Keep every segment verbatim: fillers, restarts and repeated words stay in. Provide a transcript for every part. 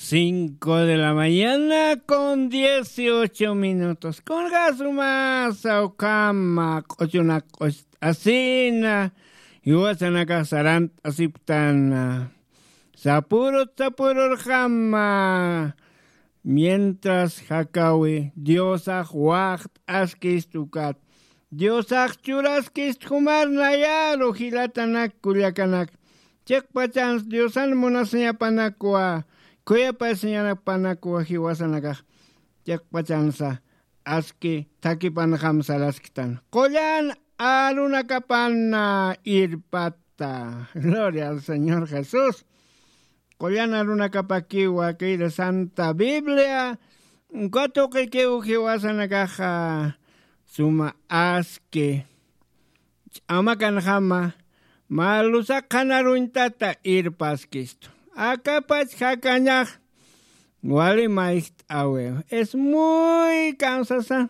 Cinco de la mañana con dieciocho minutos. Kunjasuma sawkama q'uchunak q'ust'asina. Yuwasanakax sarant'asiptana. Sapurut sapururjama. Mientras jakawi Diosax waxt'askistukat. Diosax churaskist jumar nayaru jilatanak kullakanak. Chiqpachans Diosan munasiñapanakwa, khuyapasiñapanakwa jiwasanakax. Chiqpachansa aski thakipanxam sarasktan. Qullan arunakapana irpata. Gloria al Señor Jesús. Qullan arunakapakiwa kayra Santa Biblia. Katuqikiw jiwasanakaxa suma aski. Ch'amakanxama, mä lusaqanaruñtata irpaskistu. Akapach jakañax wali mayjt'awiw. Es muy cansasa.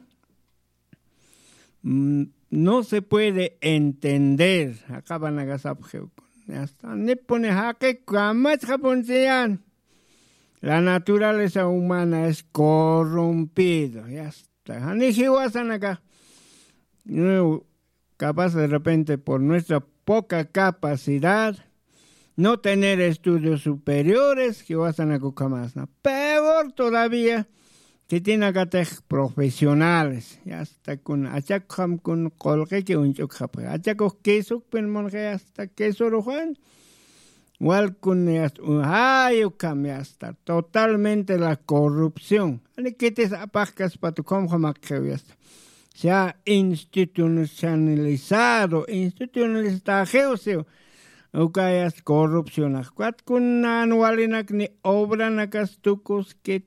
Mm, no se puede entender. Jaqapanakasapxiw. Yasta. Nipuni jaqi kamachxapunchiyan. La naturaleza humana es corrompido. Yasta. Jani jiwasanaka. Capaz de repente por nuestra poca capacidad, no tener estudios superiores, jiwasanakukhamasna. Peor todavía, khitinakatix profesionales. Yasta kun achakxam kun qulqiki uñch'ukxapxi. Achakux quesukpin munxi hasta quesoruxan. Walkun yasta, ay, ukham yasta, totalmente la corrupción. Ani kitis apaxkaspatu, khumxamakxiw yasta. Se ha institucionalizado, institucionalizaxiw siw. Uka yasta corrupcionax. Kuat kunan walinak ni obranakas tukuskit.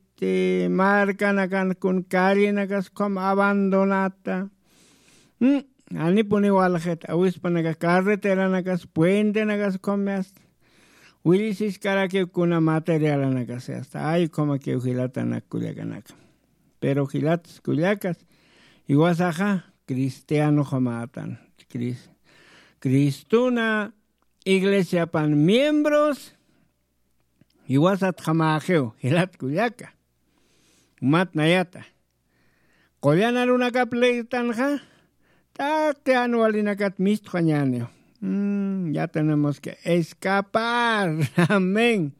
Markanakan kun callenakas ukham abandonata. Mm, anipuni walxit, awispanaka carreteranakas, puentenakas ukham yasta. Willisiskarakiw kuna materialanakas yasta. Ay, ukhamakiw jilatanak kullakanaka. Pero jilatas kullakas, jiwasaxa cristianoxamatan. Cris-, Cristuna iglesiapan miembros, jiwasatxamaxiw, jilat kullaka. Jumat nayata. Qullan arunakap leytanxa, taqi jan walinakat mistxañäniw. Mm, ya tenemos que escapar. Amén.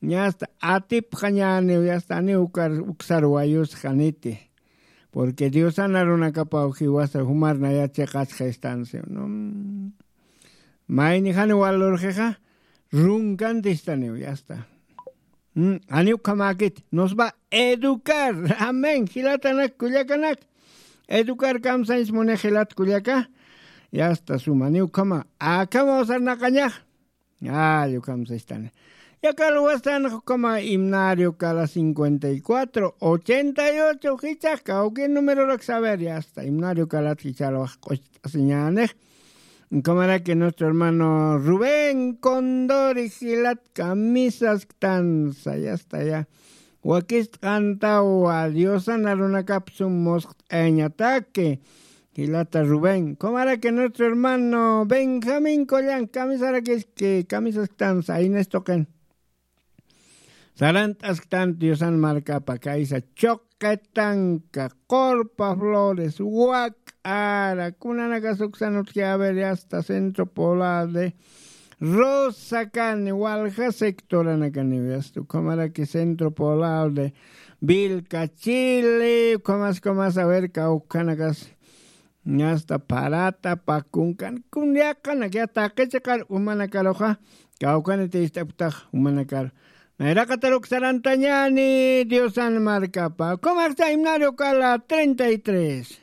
Yasta atipxañäniw, yasta ani ukar, uksar wayusxaniti. Porque Diosan arunakapaw jiwasa jumar nayat chiqachxa están, ¿sí o no? Mm. Mayni jani walurxixa, runkan distaniw, yasta. Mm, jani ukhamäkit, nos va a educar. Amén. Jilatanak, kullakanak. Educar kamsañs muni jilat kullaka. Yasta suma, jani ukhama. Akhama usarnaqañax. Ay, ukham sistani. Yaqha luwastan ukhama himnario kala cincuenta y cuatro, ochenta y ocho, jichhax kawki numerorak saber, yasta. Himnario kalat jichhalwax q'ucht'asiñänix. Ukhamaraki nuestro hermano Rubén Condori jilat kamisasktansa, yasta ya. Wakist'antawa, Diosan arunakap sum musqt'ayañataki. Jilata Rubén, ukhamaraki nuestro hermano Benjamín Collan, kamisarakiski, kamisasktansa, aynas tuqin. Sarant'asktan Diosan markapa kaysa Chuqitanka, Qurpa Flores, Wak'ara, kunanakas uksan utji, a ver, yasta Centro Poblado de Rosacani, walja sectoranakaniw, yasta, ukhamaraki Centro Poblado de Vilcachili, ukhamas, ukhamas, a ver, kawkhanakas, yasta, Parata, Pakunkan, kun yaqanak, ya taqi chiqar umanakaruxa, kawkhaniti ist'apktax umanakar. Nayraqataruk sarantañäni Diosan markapa. Ukhamaraki himnario kala treinta y tres.